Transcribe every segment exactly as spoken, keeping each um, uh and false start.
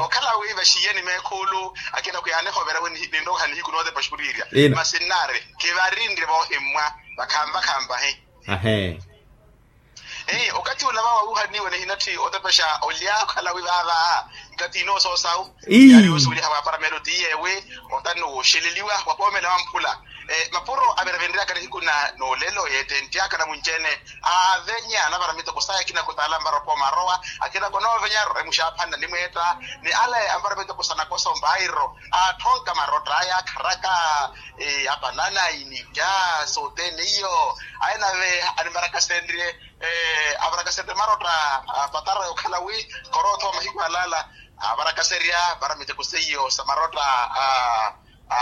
Okhala wi vaxiiyeni meekhuulu akina khuyaanihovera wi ninroha nihiku nootepa xuriirya. Masi nnaari kivarinre voohimmwa vakhanvakhanvahi. Ahe. Okathi ula vawa wuuhaniwa nihinatthi otepexa olya okhala wi vaava. Nkathi inoosoosawu yaari osuweliha vaaparamelo tiyeewi otannu wooxeleliwa wapoomela wamphula. Mapuro averevenryaka nihiku na noolelo yeettenttyaaka namunci-ene aavenya anavara miteko saya akina khutaala anvara opooma arowa akina konoovenya arore muxaaphanna nimweetta ni ale anvara miteko sa nakoso mbairo aatthonka marotta aya akharaka apanana initta sothene iyo. Aye nave animarakasenrye avarakasenrye marotta apatara okhala wi khoroothowa mahiku alaala avarakaserya vara miteko seiyo sa marotta a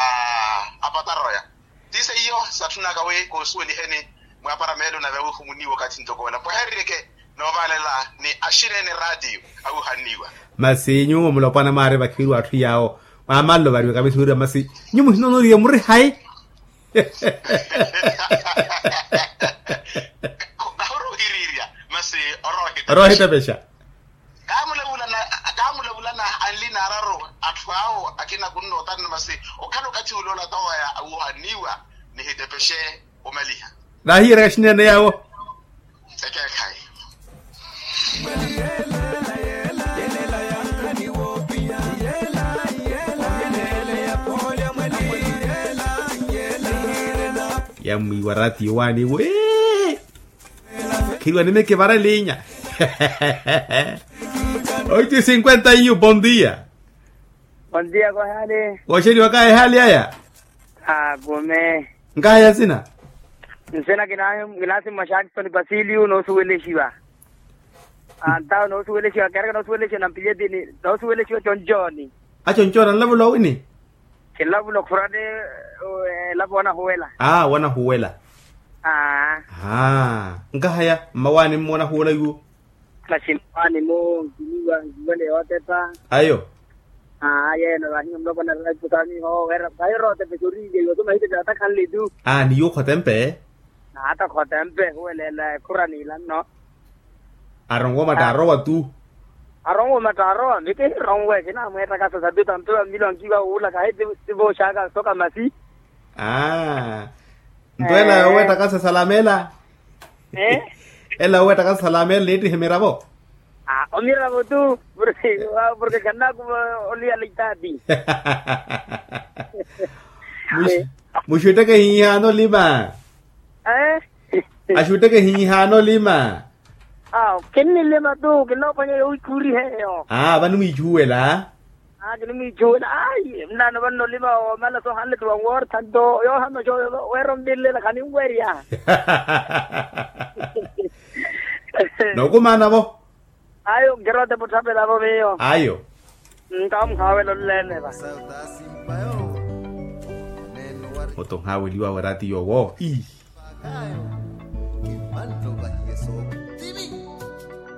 apatara oya. Ti seiyo satthunaka wi koosuweliheni mwaapara meelo nave awihumuniwa okathi ntoko ola mpwehereryeke noovaalela ni axinene raatiyo awihanniwa. Masi nyuwo mulopwana mwaari vakhiviru atthu yaawo mwamalelo variwaka misi wira masi nyuwo muhinoonoriya muri hayi? Kahorohirirya masi oroohitepexa. Oroohitepexa. Kaamulavulana kaamulavulana anli naararu atthu awo akina kunnootana masi okhala okathi ule olatawaya awuhanniwa nihitepexe. Omaliha. Naahiyeryaka xinene yaawo. Ekeekhayi. Yamwiiwa ratiyo waani wee. Khiriwa nimeke vara elinya. Oitu cinquenta iyu bon dia. Bon dia kohaali. Wooxeliwaka ehaali aya. Akume. Nkahaya nsina. Nsina kinaasimmwa xaakisoni pasiliyu noosuwelexiwa. Antawo noosuwelexiwa keeraka noosuwelexiwa nampiliyetini noosuwelexiwa concooni. Aconcooni anlavula owini? Kinlavula okhurani. Elapo wanahuwela. Aa wanahuwela. Aa. Nkahaya mmawaani mmoona huwela yuwo. Masi mmawaani mmo nkiwiwa nkiwele yootepa. Ayo. Aa yeeno vahiyo mulopwana raipukaamiho wera vahiyo rootepa exoriilya iwo so mahitepe atakhanle tu. Aa ni yuwo khotempe. Naatakhotempe huweleela ekhura niilanno. Aronwe omatta arowa tu. Aronwe omatta arowa mike hironwe kinaamweettakasa sabi tanto ya mmilo ankiwa wuula kahi ti vooxaka soka masi. Aa. Nto ela yooweettakasa salamela. Ela yooweettakasa salamela niittihe miravo. Omiravo tu. Porke kannakuva oliyala itaati. Muxutteke hiihaana olima. Axutteke hiihaana olima. Kinnilima tu kinnoophwanya yowiikhuuriha eyo. Aa vanimwiichuwela. Kinimwiichuwela ayi nnaano vanno olima omala soohanle ti wanwoortha nto yoohanoxa weera onvinlela khaninwerya. Nookumaanavo. Ayo nkirote mutthapelavo miyo. Ayo. Nkawo muhaawela onleene va. Oto nhaaweliwawe raati yoowo ii.